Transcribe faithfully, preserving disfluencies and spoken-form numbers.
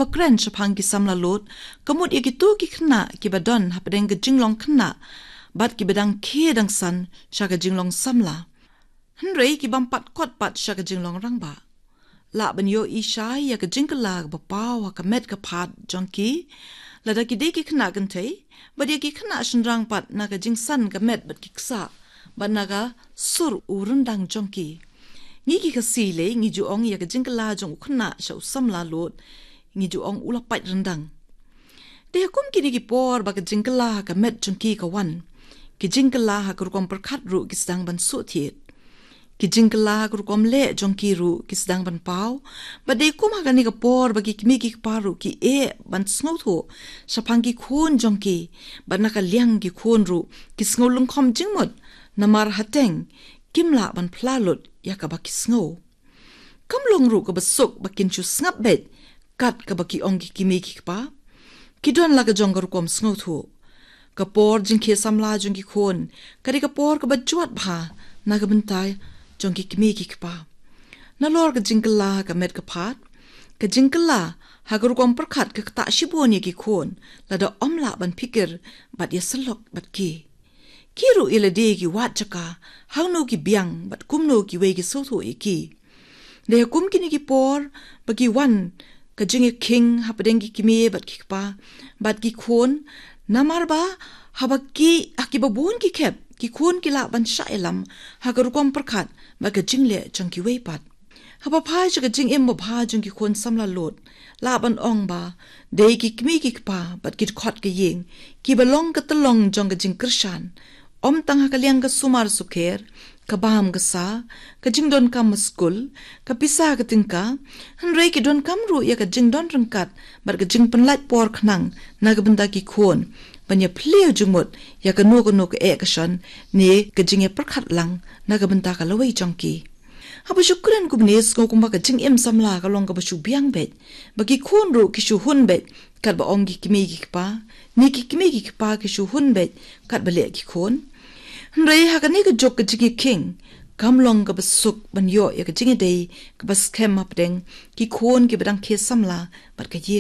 Ba kren shaphang ki samla lud, ka mut ïa kito ki khynnah kiba don hapdeng ka jinglong khynnah, bad kiba dang khie dang san sha ka jinglong samla. Hynrei ki bym pat kot pat sha ka jinglong rangbah. Lah ban ïohi shai ïa ka jingkylla kaba paw ha ka met ka phad jong ki, lada ki dei ki khynnah kynthei, bad ïa ki khynnah shynrang pat na ka jingsan ka met bad ki ksah, bad na ka sur u ryndang jong ki. Ngi ki Khasi lei ngi ju ong ïa ka jingkylla jong u khynnah sha u samla lud, ngi ju ong u la pait ryndang. Te ha kum kine ki por ba ka jingkylla ha ka met jong ki ka wan, ki jingkylla ha ka rukom pyrkhat ruh ki sdang ban suhthied. Ki jingkylla ha ka rukom leh jong ki ruh ki sdang ban paw. Bad dei kum ha kane ka por ba ki kmie ki kpa ruh ki eh ban sngewthuh shaphang ki khun jong ki, bad na ka liang ki khun ruh ki sngew lyngkhom jingmut, namar hateng kim lah ban phla lut ïa kaba ki sngew. Kam long ruh kaba suk ba kin shu sngap beit kat kaba ki ong ki kmie ki kpa. Ki don la ka jong ka rukom sngewthuh. Ka por jingkhie samla jong ki khun ka dei ka por kaba jwat bha na ka bynta jong ki kmie ki kpa. Nalor ka jingkylla ha ka met ka phad, ka jingkylla ha ka rukom pyrkhat ka ktah shibun ïa ki khun, lada ym lah ban phikir bad ïa syllok bad ki. Ki ruh ïa lade ki wad jaka hangno ki biang bad kumno kiwei ki sngewthuh ïa ki. Dei ha kum kine ki por ba ki wan ka jingïakhing hapdeng ki kmie bad ki kpa bad ki khun, namar ba haba ki, ha kiba bun ki khep, ki khun ki lah ban shah ïalam ha ka rukom pyrkhat bad ka jingleh jong kiwei pat. Haba phai sha ka jingim babha jong ki khun samla lud, lah ban ong ba dei ki kmie ki kpa bad ki dkhot ka ïing kiba long ka tyllong jong ka jingkyrshan. Ym tang ha ka liang ka sumar sukher, ka bam ka sa, ka jingdonkam ha skul, ka pisa ka tyngka, hynrei ki donkam ruh ïa ka jingdon ryngkat bad ka jingpynlait por khnang na ka bynta ki khun, ban ïa plie jingmut ïa kano kano ka eh ka shon ne ka jingïapyrkhat lang na ka bynta ka lawei jong ki. Haba shu kren kumne, sngew kumba ka jingim samla ka long kaba shu biang beit, ba ki khun ruh ki shu hun beit katba ong ki kmie ki kpa, ne ki kmie ki kpa ki shu hun beit katba leh ki khun. Hynrei ha kane ka juk ka jingïakhing kam long kaba suk ban ïoh ïa ka jingïadei kaba skhem hapdeng ki khun kiba dang khie samla bad ka ïing.